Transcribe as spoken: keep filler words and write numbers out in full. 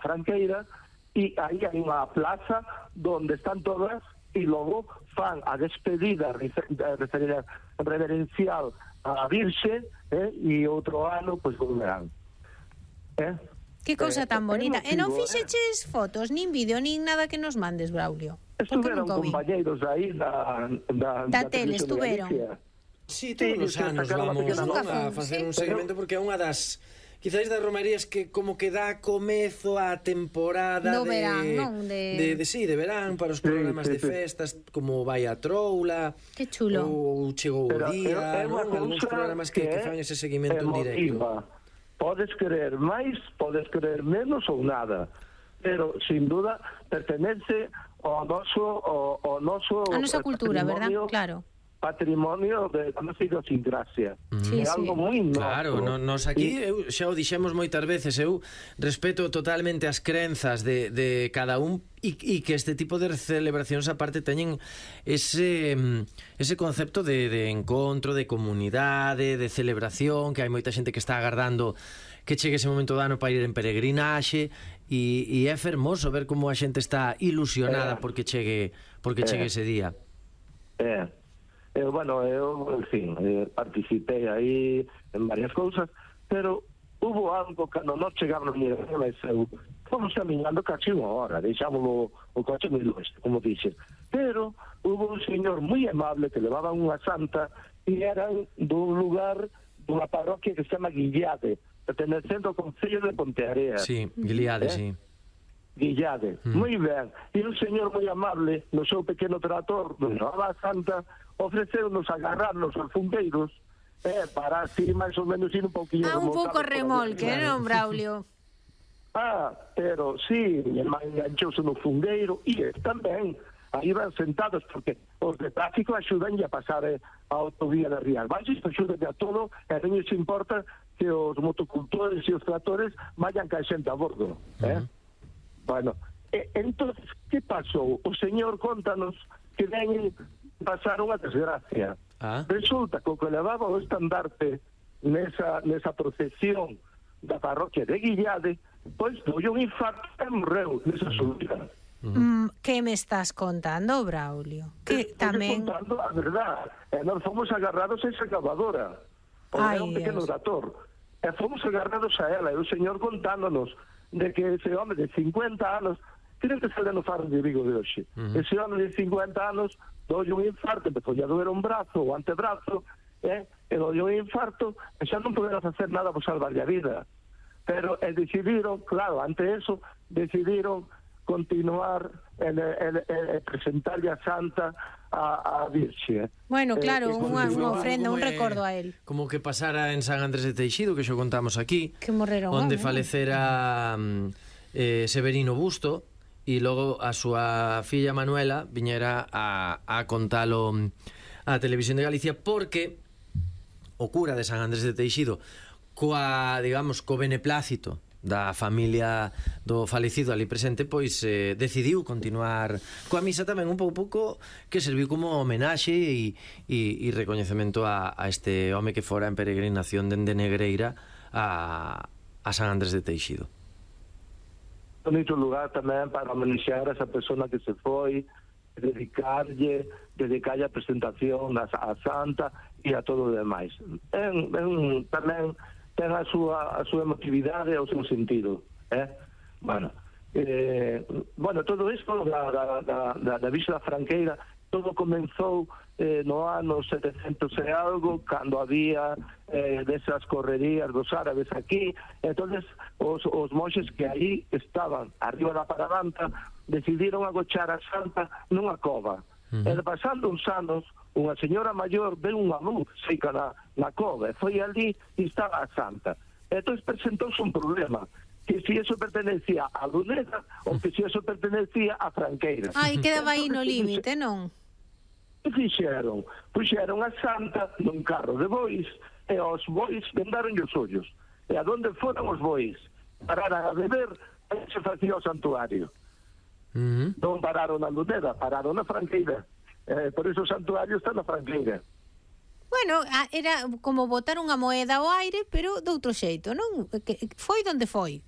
Franqueira, e aí hai unha plaza donde están todas, e logo fan a despedida reverencial a Virxe, eh, e outro ano, pois, volverán. Eh? Que cousa tan bonita. Eh, e non motivo, fixeches eh? fotos, nin vídeo, nin nada que nos mandes, Braulio? Estuveron compañeiros aí da, da, da, da tele, estuveron. Sí, todos os anos vamos, non, a facer un seguimento, porque é unha das... Quizás das romarías que como que dá comezo á temporada no de, verán, non? De... De, de, sí, de verán, para os programas sí, sí, de festas, sí. Como Vai a Troula. Que chulo. Ou Chegou o Día, non? Algúns programas que, que, que fan ese seguimento en directo. Podes querer máis, podes querer menos ou nada, pero, sin duda, pertenece ao noso... Ao, ao noso a nosa cultura, verdad? Claro. Patrimonio de a nosa idiosincrasia. Sí, é algo sí. moi noso. Claro, no, nos aquí, eu, xa o dixemos moitas veces, eu respeto totalmente as crenzas de, de cada un e, e que este tipo de celebracións aparte teñen ese, ese concepto de, de encontro, de comunidade, de celebración, que hai moita xente que está agardando que chegue ese momento do ano para ir en peregrinaxe e, e é fermoso ver como a xente está ilusionada eh, porque chegue porque eh, chegue ese día. Eh. Eu, bueno, eu, en fin, eh, participei aí en varias cousas, pero hubo algo cando non chegamos ni a eu fomos caminhando casi unha hora, deixámoslo o coche moi longe, como dixe, pero hubo un señor moi amable que levaba unha santa e eran dun lugar, dunha parroquia que se chama Guillade, pertenecendo ao Concello de Ponteareas. Sí, Guillade, eh? sí. Guillade, mm. moi ben. E un señor moi amable, no seu pequeno trator, donde levaba a santa, ofreceunos agarrarnos aos fungeiros eh, para así máis ou menos ir un pouquinho ah, un pouco remolque, non, Braulio? Ah, pero sí, enganchouse no fungueiro e tamén aí van sentados porque os de tráfico axudan a pasar eh, a autovía de Rías Baixas, axudan a todo e non lles importa que os motocultores e os tractores vayan ca xente a bordo eh? Uh-huh. Bueno, eh, entonces, que pasou? O señor contanos que ven pasar unha desgracia. Ah. Resulta que o que levaba o estandarte nesa, nesa procesión da parroquia de Guillade, pois foi un infarto e morreu nesa subida. Mm, que me estás contando, Braulio? Que Estoy tamén... contando a verdad. E nós fomos agarrados a esa cavadora. O era un pequeno dator. E fomos agarrados a ela. E o señor contándonos de que ese home de cincuenta anos, creo que sale no Faro de Vigo de hoxe, uh-huh. ese home de cincuenta anos dolle un infarto, empezou a doer un brazo, o antebrazo, eh, e dolle un infarto, e xa non poderá facer nada por salvarlle a vida. Pero eh, decidiron, claro, ante eso, decidiron continuar en, en, en, en presentarlle a Santa a, a Virxe. Bueno, claro, eh, unha, unha ofrenda, un é, recordo a él. Como que pasara en San Andrés de Teixido, que xo contamos aquí, que morreron, onde ¿no? falecera eh, Severino Busto, e logo a súa filla Manuela viñera a, a contalo a Televisión de Galicia, porque o cura de San Andrés de Teixido, coa, digamos, co beneplácito da familia do falecido ali presente, pois eh, decidiu continuar coa misa tamén un pouco pouco que serviu como homenaxe e, e, e recoñecemento a, a este home que fora en peregrinación dende Negreira a, a San Andrés de Teixido. Bonito lugar tamén para homenaxear a esa persona que se foi, dedicarlle, dedicarlle a presentación a, a Santa e a todo o demais. En, en, tamén ten a súa, a súa emotividade e o seu sentido. Eh? Bueno, eh, bueno, todo isto da, da, da, da, da Visa da Franqueira, todo comenzou eh, no ano setecentos e algo, cando había eh, desas correrías dos árabes aquí. Entonces os, os monxes que aí estaban arriba da Paradanta decidiron agochar a Santa nunha cova. Uh-huh. E pasando uns anos, unha señora maior ve unha luz seca na, na cova, e foi ali e estaba a Santa. Entón presentouse un problema, que si eso pertenecía a Luneta ou que si eso pertenecía a Franqueira. Ai, quedaba aí no límite, non? Que fixeron? Puxeron a Santa nun carro de bois e os bois vendaron os ollos. E a donde foron os bois? Pararan a beber e se facía o santuario. Uh-huh. Non pararon na Luneta, pararon na Franqueira. Eh, por iso o santuario está na Franqueira. Bueno, era como botar unha moeda ao aire, pero de outro xeito, non? Que foi donde foi.